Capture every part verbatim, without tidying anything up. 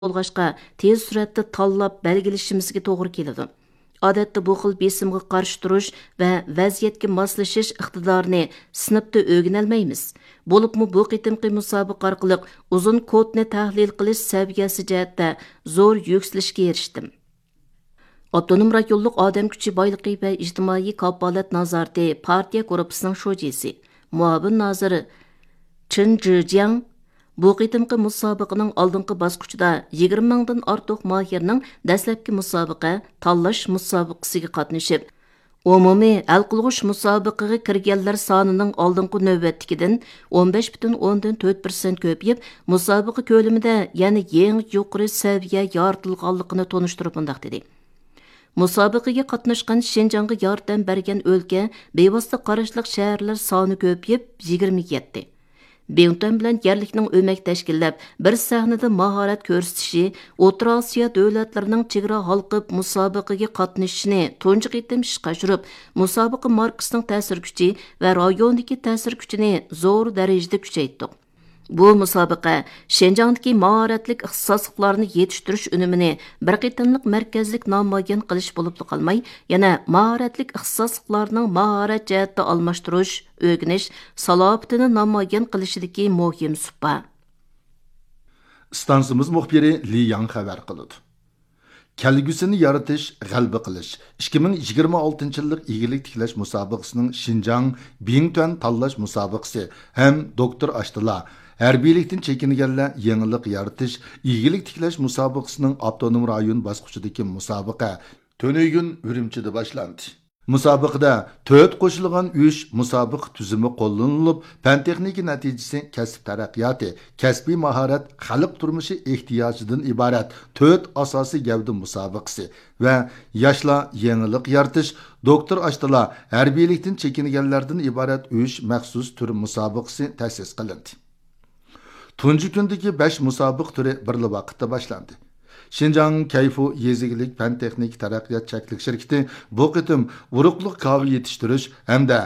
بولغاچقا، تېز سۈرئەتتە تاللاپ بەلگىلىشىمىزگە توغرا كېلىدۇ. ئادەتتە بۇ خىل بېسىمغا قارشى تۇرۇش ۋە ۋەزىيەتكە ماسلىشىش ئىقتىدارىنى سىنىپتا ئۆگىنەلمەيمىز. بولۇپمۇ بۇ قېتىمقى مۇسابىقە ئارقىلىق ئۇزۇن كودنى تەھلىل قىلىش سەۋىيەسى جەھەتتە زور يۈكسىلىشكە ئېرىشتىم. ئاپتونوم رايونلۇق ئادەم كۈچى بايلىقى ۋە ئىجتىمائىي كاپالەت نازارىتى پارتىيە گۇرۇپپىسىنىڭ شۇجىسى، مۇئاۋىن نازىر چېن جىجياڭ بۇ قېتىمقى مۇسابىقىنىڭ ئالدىنقى باسقۇچىدا يىگىرمە مىڭدىن ئارتۇق ماھىرنىڭ دەسلەپكى مۇسابىقە، تاللاش مۇسابىقىسىگە قاتنىشىپ، ئومۇمىي ھەل قىلغۇچ مۇسابىقىگە كىرگەنلەر سانىنىڭ ئالدىنقى نۆۋەتتىكىدىن ئون بەش پۈتۈن ئوندىن تۆت پىرسەنت كۆپىيىپ، مۇسابىقە كۆلىمىدە يەنە يېڭى يۇقىرى سەۋىيە يارىتىلغانلىقىنى تونۇشتۇرۇپ مۇنداق دېدى: مۇسابىقىگە قاتناشقان، شىنجاڭغا ياردەم بەرگەن ئۆلكە، بىۋاسىتە قاراشلىق شەھەرلەر سانى كۆپىيىپ، يىگىرمىگە يەتتى. بىڭتۈەن بىلەن يەرلىكنىڭ ئۆمەك تەشكىللەپ، بىر سەھنىدە ماھارەت كۆرسىتىشى، ئوتتۇرا ئاسىيا دۆلەتلىرىنىڭ چېگرا ھالقىپ مۇسابىقىگە قاتنىشىشىنى تۇنجى قېتىم ئىشقا ئاشۇرۇپ، مۇسابىقە ماركىسىنىڭ تەسىر كۈچى ۋە رايوندىكى تەسىر كۈچىنى زور دەرىجىدە كۈچەيتتۇق. بۇ مۇسابىقە شىنجاڭدىكى ماھارەتلىك ئىختىساسلىقلارنى يېتىشتۈرۈش ئۈنۈمىنى بىر قېتىملىق مەركەزلىك نامايان قىلىش بولۇپلا قالماي، يەنە ماھارەتلىك ئىختىساسلىقلارنىڭ ماھارەت جەھەتتە ئالماشتۇرۇش، ئۆگىنىش سالاپىتىنى نامايان قىلىشىدىكى مۇھىم سۇپا. ئىستانسىمىز مۇخبىرى لى ياڭ خەۋەر قىلىدۇ. كەلگۈسىنى يارىتىش، غەلىبە قىلىش، ئىككى مىڭ يىگىرمە ئالتىنچى يىللىق ئىگىلىك تىكلەش مۇسابىقىسىنىڭ شىنجاڭ بىڭتۈەن تاللاش مۇسابىقىسى ھەم دوكتور ئاشتىلا، ھەربىيلىكتىن چېكىنگەنلەر يېڭىلىق يارىتىش ئىگىلىك تىكلەش مۇسابىقىسىنىڭ ئاپتونوم رايون باسقۇچىدىكى مۇسابىقە تۈنۈگۈن ئۈرۈمچىدە باشلاندى. مۇسابىقىدە تۆت قوشۇلغان ئۈچ مۇسابىقە تۈزۈمى قوللىنىلىپ، پەن تېخنىكا نەتىجىسى، كەسىپ تەرەققىياتى، كەسپىي ماھارەت، خەلق تۇرمۇشى ئېھتىياجىدىن ئىبارەت تۆت ئاساسىي گەۋدە مۇسابىقىسى ۋە ياشلار يېڭىلىق يارىتىش، دوكتور ئاشتىلا، ھەربىيلىكتىن چېكىنگەنلەردىن ئىبارەت ئۈچ مەخسۇس تۈر مۇسابىقىسى تەسىس قىلىندى. تۇنجى كۈندىكى بەش مۇسابىقە تۈرى بىرلا ۋاقىتتا باشلاندى. شىنجاڭ كەيفۇ يېزا ئىگىلىك پەن تېخنىكا تەرەققىيات چەكلىك شىركىتى بۇ قېتىم ئۇرۇقلۇق كاۋا يېتىشتۈرۈش ھەمدە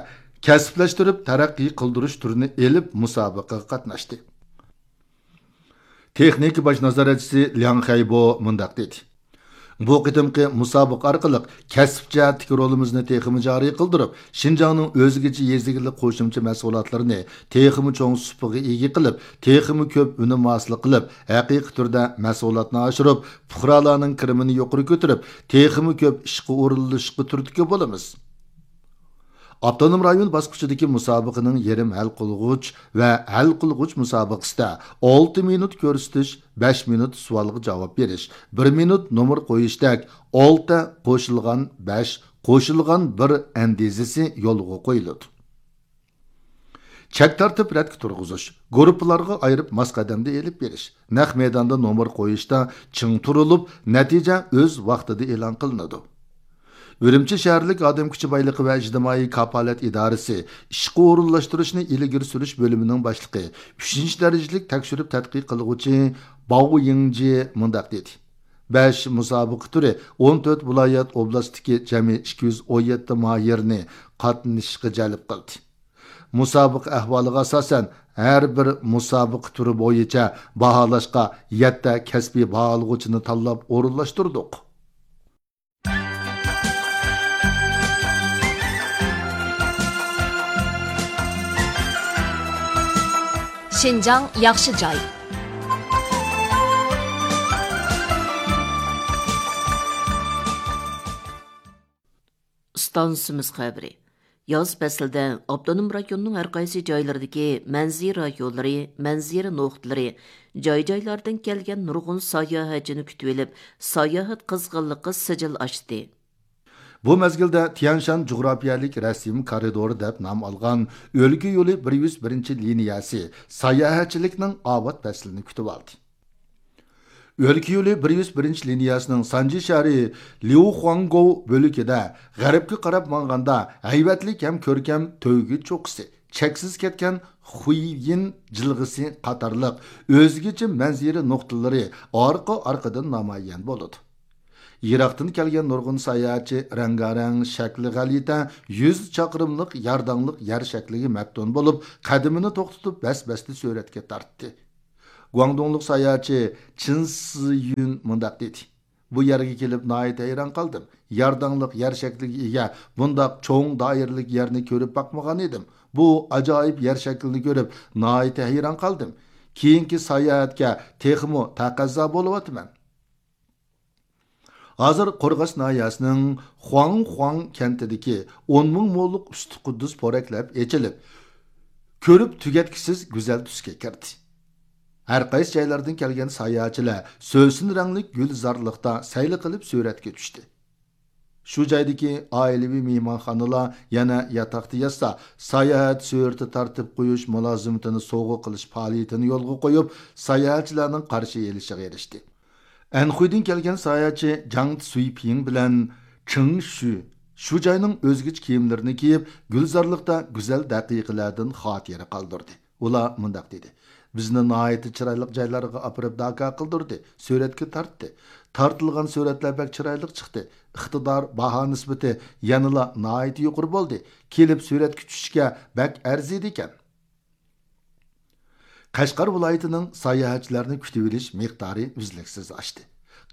كەسىپلەشتۈرۈپ تەرەققىي قىلدۇرۇش تۈرىنى ئېلىپ مۇسابىقىگە قاتناشتى. تېخنىكا باش نازارەتچىسى لياڭ خەيبو مۇنداق دېدى: بۇ قېتىمقى مۇسابىقە ئارقىلىق كەسىپ جەھەتتىكى رولىمىزنى تېخىمۇ جارى قىلدۇرۇپ، شىنجاڭنىڭ ئۆزگىچە يېزا ئىگىلىك قوشۇمچە مەھسۇلاتلىرىنى تېخىمۇ چوڭ سۇپىغا ئىگە قىلىپ، تېخىمۇ كۆپ ئۈنۈم ھاسىل قىلىپ، ھەقىقىي تۈردە مەھسۇلاتنى ئاشۇرۇپ، پۇقرالارنىڭ كىرىمىنى يۇقىرى كۆتۈرۈپ، تېخىمۇ كۆپ ئىشقا ئورۇنلىشىشقا تۈرتكە بولىمىز. ئاپتونوم رايون باسقۇچىدىكى مۇسابىقىنىڭ يېرىم ھەل قىلغۇچ ۋە ھەل قىلغۇچ مۇسابىقىسىدە ئالتە مىنۇت كۆرسىتىش، بەش مىنۇت سوئالغا جاۋاب بېرىش، بىر مىنۇت نومۇر قويۇشتەك ئالتە قوشۇلغان بەش قوشۇلغان بىر ئەندىزىسى يولغا قويۇلىدۇ. چەك تارتىپ رەتكە تۇرغۇزۇش، گۇرۇپپىلارغا ئايرىپ ماس قەدەمدە ئېلىپ بېرىش، نەق مەيداندا نومۇر قويۇشتا چىڭ تۇرۇلۇپ، نەتىجە ئۆز ۋاقتىدا ئېلان قىلىنىدۇ. ئۈرۈمچى شەھەرلىك ئادەم كۈچى بايلىقى ۋە ئىجتىمائىي كاپالەت ئىدارىسى ئىشقا ئورۇنلاشتۇرۇشنى ئىلگىرى سۈرۈش بۆلۈمىنىڭ باشلىقى، ئۈچىنچى دەرىجىلىك تەكشۈرۈپ تەتقىق قىلغۇچى باۋ يىڭجى مۇنداق دېدى: بەش مۇسابىقە تۈرى ئون تۆت ۋىلايەت ئوبلاستتىكى جەمئىي ئىككى يۈز ئون يەتتە ماھىرنى قاتنىشىشقا جەلپ قىلدى. مۇسابىقە ئەھۋالىغا ئاساسەن، ھەر بىر مۇسابىقە تۈرى بويىچە باھالاشقا يەتتە كەسپىي باھالىغۇچىنى تاللاپ ئورۇنلاشتۇردۇق. شىنجاڭ ياخشى جاي. ئىستانسىمىز خەۋىرى. ياز پەسلىدە ئاپتونوم رايوننىڭ ھەر قايسى جايلىرىدىكى مەنزىرە رايونلىرى، مەنزىرە نۇقتىلىرى، جاي-جايلاردىن كەلگەن نۇرغۇن ساياھەتچىنى كۈتۈۋېلىپ، ساياھەت قىزغىنلىقى سىجىل ئاشتى. بۇ مەزگىلدە تيەنشان جۇغراپىيەلىك رەسىم كارىدورى دەپ نام ئالغان ئۆلكە يولى بىر يۈز بىرىنچى لىنىيەسى ساياھەتچىلىكنىڭ ئاۋات پەسلىنى كۈتۈۋالدى. ئۆلكە يولى بىر يۈز بىرىنچى لىنىيەسىنىڭ سانجى شەھىرى ليۇخۇاڭگوۋ بۆلىكىدە غەربكە قاراپ ماڭغاندا، ھەيۋەتلىك ھەم كۆركەم تۆگە چوققىسى، چەكسىز كەتكەن خۇييىن جىلغىسى قاتارلىق ئۆزگىچە مەنزىرە نۇقتىلىرى ئارقا-ئارقىدىن نامايان بولىدۇ. يىراقتىن كەلگەن نۇرغۇن ساياھەتچى رەڭگارەڭ، شەكلى غەلىتە، يۈز چاقىرىملىق يارداڭلىق يەر شەكلىگە مەپتۇن بولۇپ، قەدىمىنى توختىتىپ، بەس-بەستە سۈرەتكە تارتتى. گۇاڭدۇڭلۇق ساياھەتچى چىن سىيۈن مۇنداق دېدى: بۇ يەرگە كېلىپ ناھايىتى ھەيران قالدىم. يارداڭلىق يەر شەكلىگە ئىگە بۇنداق چوڭ دائىرىلىك يەرنى كۆرۈپ باقمىغان ئىدىم. بۇ ئاجايىپ يەر شەكلىنى كۆرۈپ ناھايىتى ھەيران قالدىم. كېيىنكى ساياھەتكە تېخىمۇ تەقەززا بولۇۋاتىمەن. ھازىر قورغاس ناھىيەسىنىڭ خۇاڭخۇاڭ كەنتىدىكى ئون مىڭ موللۇق ئۈستى قۇددۇس پورەكلەپ ئېچىلىپ، كۆرۈپ تۈگەتكۈسىز گۈزەل تۈسكە كىردى. ھەر قايسى جايلاردىن كەلگەن ساياھەتچىلەر سۆسۈن رەڭلىك گۈلزارلىقتا سەيلە قىلىپ سۈرەتكە چۈشتى. شۇ جايدىكى ئائىلىۋى مېھمانخانىلار يەنە ياتاقتا ياتسا، ساياھەت سۈرىتى تارتىپ قويۇش مۇلازىمىتىنى سوۋغا قىلىش پائالىيىتىنى يولغا قويۇپ، ساياھەتچىلەرنىڭ قارشى ئېلىشىغا ئېرىشتى. ئەنخۇيدىن كەلگەن ساياھەتچى جاڭ سۈيپىڭ بىلەن چېڭ شۈ شۇ جاينىڭ ئۆزگىچە كىيىملىرىنى كىيىپ، گۈلزارلىقتا گۈزەل دەقىقىلەردىن خاتىرە قالدۇردى. ئۇلار مۇنداق دېدى: بىزنى ناھايىتى چىرايلىق جايلارغا ئاپىرىپ داكا قىلدۇردى، سۈرەتكە تارتتى. تارتىلغان سۈرەتلەر بەك چىرايلىق چىقتى. ئىقتىدار، باھا نىسبىتى يەنىلا ناھايىتى يۇقىرى بولدى. كېلىپ سۈرەتكە چۈشۈشكە بەك ئەرزىيدىكەن. قەشقەر ۋىلايىتىنىڭ ساياھەتچىلەرنى كۈتۈۋېلىش مىقدارى ئۈزلۈكسىز ئاشتى.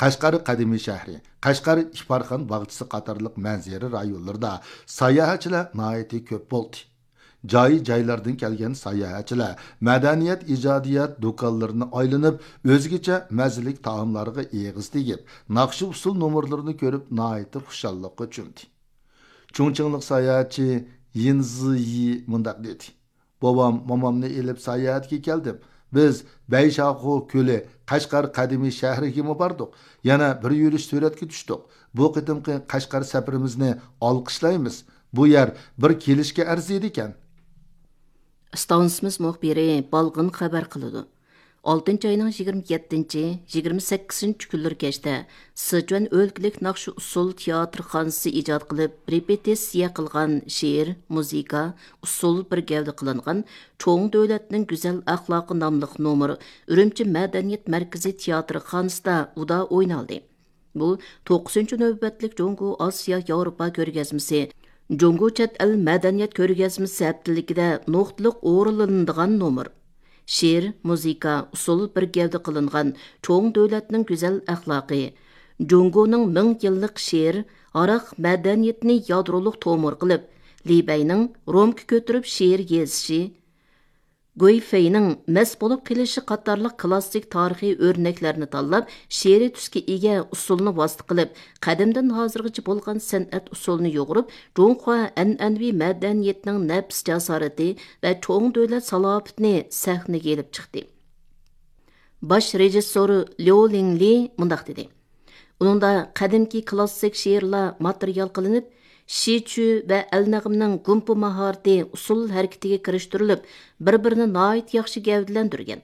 قەشقەر قەدىمىي شەھىرى، قەشقەر ئىپارخان باغچىسى قاتارلىق مەنزىرە رايونلىرىدا ساياھەتچىلەر ناھايىتى كۆپ بولدى. جاي-جايلاردىن كەلگەن ساياھەتچىلەر مەدەنىيەت، ئىجادىيەت دۇكانلىرىنى ئايلىنىپ، ئۆزگىچە مەززىلىك تائاملارغا ئېغىز تېگىپ، ناخشا-ئۇسسۇل نومۇرلىرىنى كۆرۈپ، ناھايىتى خۇشاللىققا چۆمدى. چۇڭچىڭلىق ساياھەتچى يىن زىيى مۇنداق دېدى: بوۋام، مومامنى ئېلىپ ساياھەتكە كەلدىم. بىز بەيشاخۇ كۆلى، قەشقەر قەدىمىي شەھىرىگىمۇ باردۇق. يەنە بىر يۈرۈش سۈرەتكە چۈشتۇق. بۇ قېتىمقى قەشقەر سەپىرىمىزنى ئالقىشلايمىز. بۇ يەر بىر كېلىشكە ئەرزىيدىكەن. ئىستانسىمىز مۇخبىرى بالغىن خەۋەر قىلىدۇ. ئالتىنچى ئاينىڭ يىگىرمە يەتتىنچى، يىگىرمە سەككىزىنچى كۈنلىرى كەچتە سىچۈەن ئۆلكىلىك ناخشا ئۇسسۇل تىياتىرخانىسى ئىجاد قىلىپ، رېپېتىتسىيە قىلغان شېئىر، مۇزىكا، ئۇسسۇل بىر گەۋدە قىلىنغان چوڭ دۆلەتنىڭ گۈزەل ئەخلاقى ناملىق نومۇر ئۈرۈمچى مەدەنىيەت مەركىزى تىياتىرخانىسىدا ئۇدا ئوينالدى. بۇ توققۇزىنچى نۆۋەتلىك جۇڭگو ئاسىيا ياۋروپا كۆرگەزمىسى، جۇڭگو چەت ئەل مەدەنىيەت كۆرگەزمىسى ھەپتىلىكىدە نۇقتىلىق ئورۇنلىنىدىغان نومۇر. شېئىر، مۇزىكا، ئۇسسۇل بىر گەۋدە قىلىنغان چوڭ دۆلەتنىڭ گۈزەل ئەخلاقى، جۇڭگونىڭ مىڭ يىللىق شېئىر، ھاراق مەدەنىيىتىنى يادرولۇق تومۇر قىلىپ، لى بەينىڭ رومكا كۆتۈرۈپ شېئىر يېزىشى، گۇي فېينىڭ مەست بولۇپ قېلىشى قاتارلىق كلاسسىك تارىخىي ئۆرنەكلەرنى تاللاپ، شېئىرىي تۈسكە ئىگە ئۇسسۇلنى ۋاسىتە قىلىپ، قەدىمدىن ھازىرغىچە بولغان سەنئەت ئۇسسۇلىنى يۇغۇرۇپ، جۇڭخۇا ئەنئەنىۋى مەدەنىيىتىنىڭ نەپىس جاسارىتى ۋە چوڭ دۆلەت سالاپىتىنى سەھنىگە ئېلىپ چىقتى. باش رېژىسسورى ليۇ لىڭلى مۇنداق دېدى: ئۇنىڭدا قەدىمكى كلاسسىك شېئىرلار ماتېرىيال قىلىنىپ، شىچۈ ۋە ئەلنەغمىنىڭ گۇمپا ماھارىتى ئۇسسۇل ھەرىكىتىگە كىرىشتۈرۈلۈپ، بىر-بىرىنى ناھايىتى ياخشى گەۋدىلەندۈرگەن.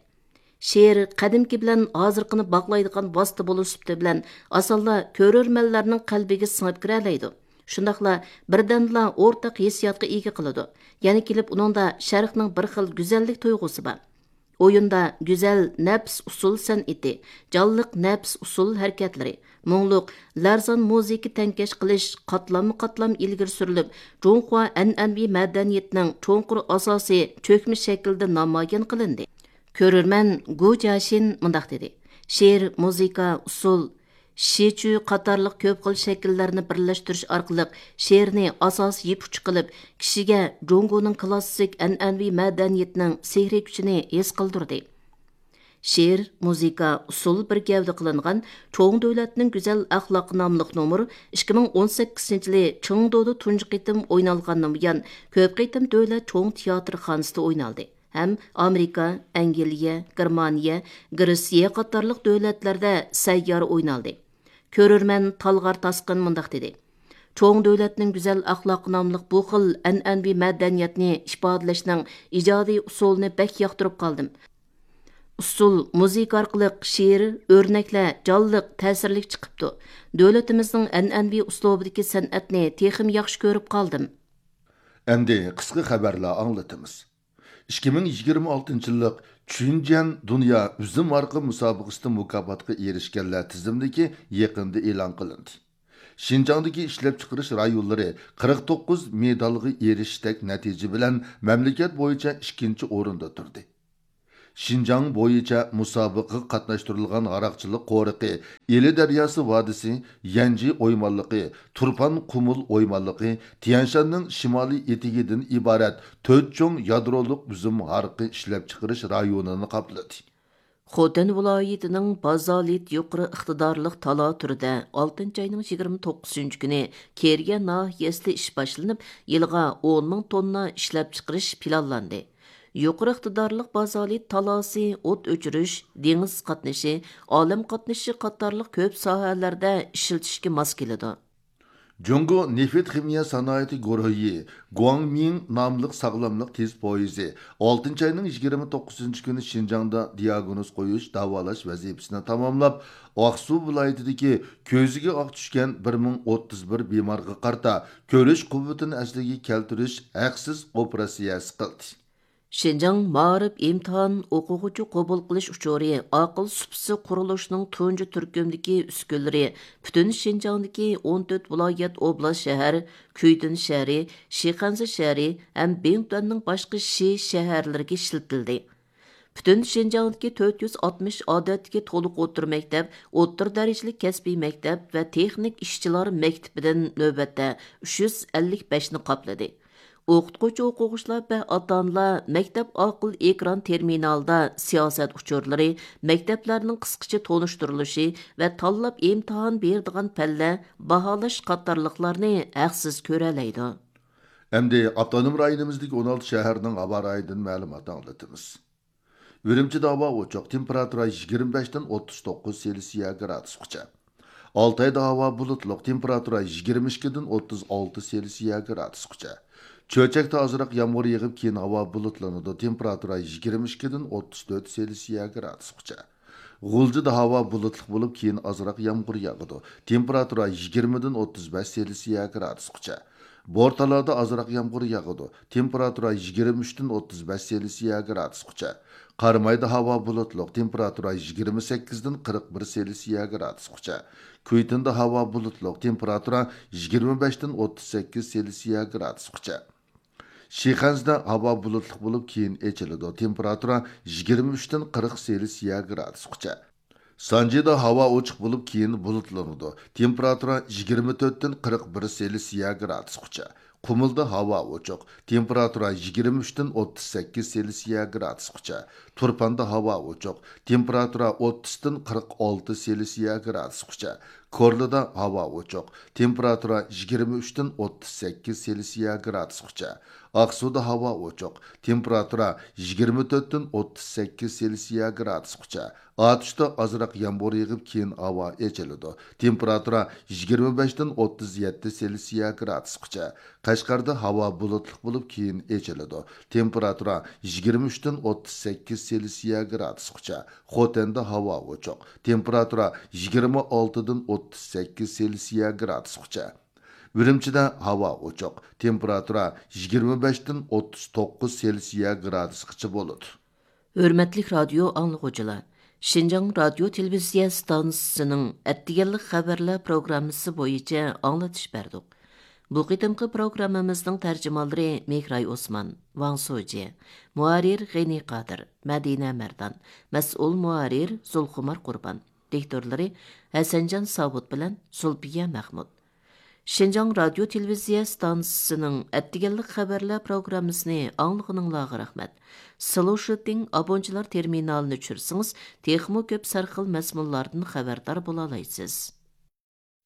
شېئىر قەدىمكى بىلەن ھازىرقىنى باغلايدىغان ۋاسىتە بولۇش سۈپىتى بىلەن ئاسانلا كۆرۈرمەنلەرنىڭ قەلبىگە سىڭىپ كىرەلەيدۇ. شۇنداقلا بىردەملا ئورتاق ھېسسىياتقا ئىگە قىلىدۇ. يەنە كېلىپ ئۇنىڭدا شەرقنىڭ بىر خىل گۈزەللىك تۇيغۇسى بار. ئويۇندا گۈزەل، نەپىس ئۇسسۇل سەنئىتى، جانلىق نەپىس ئۇسسۇل ھەرىكەتلىرى، مۇڭلۇق، لەرزان مۇزىكا تەڭكەش قىلىش قاتلاممۇ قاتلام ئىلگىرى سۈرۈلۈپ، جۇڭخۇا ئەنئەنىۋى مەدەنىيىتىنىڭ چوڭقۇر ئاساسى چۆكمە شەكىلدە نامايان قىلىندى. كۆرۈرمەن گۇ جياشىن مۇنداق دېدى: شېئىر، مۇزىكا، ئۇسسۇل، شىچۈ قاتارلىق كۆپ خىل شەكىللەرنى بىرلەشتۈرۈش ئارقىلىق شېئىرنى ئاساسىي يىپ ئۇچى قىلىپ، كىشىگە جۇڭگونىڭ كلاسسىك ئەنئەنىۋى مەدەنىيىتىنىڭ سېھرىي كۈچىنى ھېس قىلدۇردى. شېئىر، مۇزىكا، ئۇسسۇل بىر گەۋدە قىلىنغان چوڭ دۆلەتنىڭ گۈزەل ئەخلاقى ناملىق نومۇر ئىككى مىڭ ئون سەككىزىنچى يىلى چېڭدۇدا تۇنجى قېتىم ئوينالغاندىن بۇيان، كۆپ قېتىم دۆلەت چوڭ تىياتىرخانىسىدا ئوينالدى ھەم ئامېرىكا، ئەنگلىيە، گېرمانىيە، گرېتسىيە قاتارلىق دۆلەتلەردە سەييارە ئوينالدى. كۆرۈرمەن تالغار تاسقىن مۇنداق دېدى: چوڭ دۆلەتنىڭ گۈزەل ئەخلاقى ناملىق بۇ خىل ئەنئەنىۋى مەدەنىيەتنى ئىپادىلەشنىڭ ئىجادىي ئۇسۇلىنى بەك ياقتۇرۇپ قالدىم. ئۇسسۇل، مۇزىكا ئارقىلىق شېئىر، ئۆرنەكلەر جانلىق، تەسىرلىك چىقىپتۇ. دۆلىتىمىزنىڭ ئەنئەنىۋى ئۇسلۇبىدىكى سەنئەتنى تېخىمۇ ياخشى كۆرۈپ قالدىم. ئەمدى قىسقا خەۋەرلەر ئاڭلىتىمىز. ئىككى مىڭ يىگىرمە ئالتىنچى يىللىق چۈنجيەن دۇنيا ئۈزۈم ھارىقى مۇسابىقىسىدە مۇكاپاتقا ئېرىشكەنلەر تىزىملىكى يېقىندا ئېلان قىلىندى. شىنجاڭدىكى ئىشلەپچىقىرىش رايونلىرى قىرىق توققۇز مېدالغا ئېرىشىشتەك نەتىجە بىلەن مەملىكەت بويىچە ئىككىنچى ئورۇندا تۇردى. شىنجاڭ بويىچە مۇسابىقىگە قاتناشتۇرۇلغان ھاراقچىلىق قورۇقى، ئىلى دەرياسى ۋادىسى، يەنجى ئويمانلىقى، تۇرپان قۇمۇل ئويمانلىقى، تيەنشاننىڭ شىمالىي ئېتىكىدىن ئىبارەت تۆت چوڭ يادرولۇق ئۈزۈم ھارىقى ئىشلەپچىقىرىش رايونىنى قاپلىدى. خوتەن ۋىلايىتىنىڭ بازالىت يۇقىرى ئىقتىدارلىق تالا تۈرىدە ئالتىنچى ئاينىڭ يىگىرمە توققۇزىنچى كۈنى كېرىيە ناھىيەسىدە ئىش باشلىنىپ، يىلىغا ئون مىڭ توننا ئىشلەپچىقىرىش پىلانلاندى. يۇقىرى ئىقتىدارلىق بازالىت تالاسى ئوت ئۆچۈرۈش، دېڭىز قاتنىشى، ئالەم قاتنىشى قاتارلىق كۆپ ساھەلەردە ئىشلىتىشكە ماس كېلىدۇ. جۇڭگو نېفىت خىمىيە سانائىتى گۇرۇھى گۇاڭمىڭ ناملىق ساغلاملىق تېز پويىزى ئالتىنچى ئاينىڭ يىگىرمە توققۇزىنچى كۈنى شىنجاڭدا دىئاگنوز قويۇش، داۋالاش ۋەزىپىسىنى تاماملاپ، ئاقسۇ ۋىلايىتىدىكى كۆزىگە ئاق چۈشكەن بىر مىڭ ئوتتۇز بىر بىمارغا قارىتا كۆرۈش قۇۋۋىتىنى ئەسلىگە كەلتۈرۈش ھەقسىز ئوپېراتسىيەسى قىلدى. شىنجاڭ مائارىپ ئىمتىھان ئوقۇغۇچى قوبۇل قىلىش ئۇچۇرى ئاقىل سۇپىسى قۇرۇلۇشىنىڭ تۇنجى تۈركۈمدىكى ئۈسكۈنىلىرى پۈتۈن شىنجاڭدىكى ئون تۆت ۋىلايەت، ئوبلاست، شەھەر، كۈيتۇن شەھىرى، شىخەنزە شەھىرى ھەم بىڭتۈەننىڭ باشقا شى شەھەرلىرىگە ئىشلىتىلدى. پۈتۈن شىنجاڭدىكى تۆت يۈز ئاتمىش ئادەتتىكى تولۇق ئوتتۇرا مەكتەپ، ئوتتۇرا دەرىجىلىك كەسپىي مەكتەپ ۋە تېخنىك ئىشچىلار مەكتىپىدىن نۆۋەتتە ئۈچ يۈز ئەللىك بەشنى قاپلىدى. ئوقۇتقۇچى ئوقۇغۇچىلار ۋە ئاتا ئانىلار مەكتەپ ئاقىل ئېكران تېرمىنالىدا سىياسەت ئۇچۇرلىرى، مەكتەپلەرنىڭ قىسقىچە تونۇشتۇرۇلۇشى ۋە تاللاپ ئىمتىھان بېرىدىغان پەنلەر باھالاش قاتارلىقلارنى ھەقسىز كۆرەلەيدۇ. ئەمدى ئاپتونوم رايونىمىزدىكى ئون ئالتە شەھەرنىڭ ھاۋا رايىدىن مەلۇمات ئاڭلىتىمىز. ئۈرۈمچىدە ھاۋا ئوچۇق، تېمپېراتۇرا يىگىرمە بەشتىن ئوتتۇز توققۇز سېلسىيە گرادۇسقىچە. ئالتايدا ھاۋا بۇلۇتلۇق، تېمپېراتۇرا يىگىرمە ئىككىدىن ئوتتۇز ئالتە سېلسىيە گرادۇسقىچە. چۆچەكتە ئازراق يامغۇر يېغىپ، كېيىن ھاۋا بۇلۇتلىنىدۇ، تېمپېراتۇرا يىگىرمە ئىككىدىن ئوتتۇز تۆت سېلسىيە گرادۇسقىچە. غۇلجىدا ھاۋا بۇلۇتلۇق بولۇپ، كېيىن ئازراق يامغۇر ياغىدۇ، تېمپېراتۇرا يىگىرمىدىن ئوتتۇز بەش سېلسىيە گرادۇسقىچە. بورتالادا ئازراق يامغۇر ياغىدۇ، تېمپېراتۇرا يىگىرمە ئۈچتىن ئوتتۇز بەش سېلسىيە گرادۇسقىچە. قارامايدا ھاۋا بۇلۇتلۇق، تېمپېراتۇرا يىگىرمە سەككىزدىن قىرىق بىر سېلسىيە گرادۇسقىچە. كۈيتۇندا ھاۋا بۇلۇتلۇق، تېمپېراتۇرا يىگىرمە بەشتىن ئوتتۇز سەككىز سېلسىيە گرادۇسقىچە. شىخەنزىدە ھاۋا بۇلۇتلۇق بولۇپ، كېيىن ئېچىلىدۇ، تېمپېراتۇرا يىگىرمە ئۈچتىن قىرىق سېلسىيە گرادۇسقىچە. سانجىدا ھاۋا ئوچۇق بولۇپ، كېيىن بۇلۇتلىنىدۇ، تېمپېراتۇرا يىگىرمە تۆتتىن قىرىق بىر سېلسىيە گرادۇسقىچە. قۇمۇلدا ھاۋا ئوچۇق، تېمپېراتۇرا يىگىرمە ئۈچتىن ئوتتۇز سەككىز سېلسىيە گرادۇسقىچە. تۇرپاندا ھاۋا ئوچۇق، تېمپېراتۇرا ئوتتۇزدىن قىرىق ئالتە سېلسىيە گرادۇسقىچە. كورلىدا ھاۋا ئوچۇق، تېمپېراتۇرا يىگىرمە ئۈچتىن ئوتتۇز سەككىز سېلسىيە گرادۇسقىچە. ئاقسۇدا ھاۋا ئوچۇق، تېمپېراتۇرا يىگىرمە تۆتتىن ئوتتۇز سەككىز سېلسىيە گرادۇسقىچە. ئاتۇشتا ئازراق يامغۇر يېغىپ، كېيىن ھاۋا ئېچىلىدۇ، تېمپېراتۇرا يىگىرمە بەشتىن ئوتتۇز يەتتە سېلسىيە گرادۇسقىچە. قەشقەردە ھاۋا بۇلۇتلۇق بولۇپ، كېيىن ئېچىلىدۇ، تېمپېراتۇرا يىگىرمە ئۈچتىن ئوتتۇز سەككىز سېلسىيە گرادۇسقىچە. خوتەندە ھاۋا ئوچۇق، تېمپېراتۇرا يىگىرمە ئالتىدىن ئوتتۇز سەككىز سېلسىيە گرادۇسقىچە. ئۈرۈمچىدە ھاۋا ئوچۇق، تېمپېراتۇرا يىگىرمە بەشتىن ئوتتۇز توققۇز سېلسىيە گرادۇسقىچە بولىدۇ. ھۆرمەتلىك رادىيو ئاڭلىغۇچىلار، شىنجاڭ رادىيو تېلېۋىزىيە ئىستانسىسىنىڭ ئەتىگەنلىك خەۋەرلەر پروگراممىسى بويىچە ئاڭلىتىش بەردۇق. بۇ قېتىمقى پروگراممىمىزنىڭ تەرجىمانلىرى مېھراي ئوسمان، ۋاڭ سۇجيې، مۇھەررىر غېنى قادىر، مەدىنە مەردان، مەسئۇل مۇھەررىر زۇلخۇمار قۇربان، دىكتورلىرى ھەسەنجان ساۋۇت بىلەن زۇلپىيە مەخمۇت. شىنجاڭ رادىيو تېلېۋىزىيە ئىستانسىسىنىڭ ئەتىگەنلىك خەۋەرلەر پروگراممىسىنى ئاڭلىغىنىڭلارغا رەھمەت. سلوشىتىڭ ئابونچىلار تېرمىنالىنى چۈشۈرسىڭىز، تېخىمۇ كۆپ سەرخىل مەزمۇنلاردىن خەۋەردار بولالايسىز.